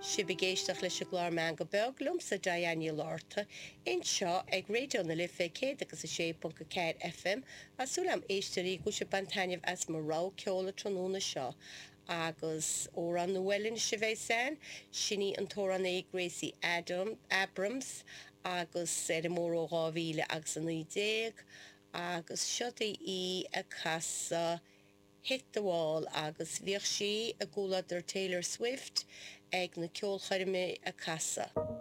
Sibh ag éisteacht leis an gclár Meangadh Beag liomsa Diane Ní Fhlatharta anseo ag Raidió na Life 106.4 FM. Tá súil agam éisteoirí go bhfuil sibh ag baint taitneamh as mo rogha ceoil an tráthnóna seo. Agus amhrán nua eile anois a bheas ann, sin í an t-amhránaí Gracie Adam, Abrams agus ar an mór ó 2019 agus seo í ag casadh Hit the Wall agus bhíodh sí i gcomhluadar Taylor Swift ag na ceolchoirme a casadh.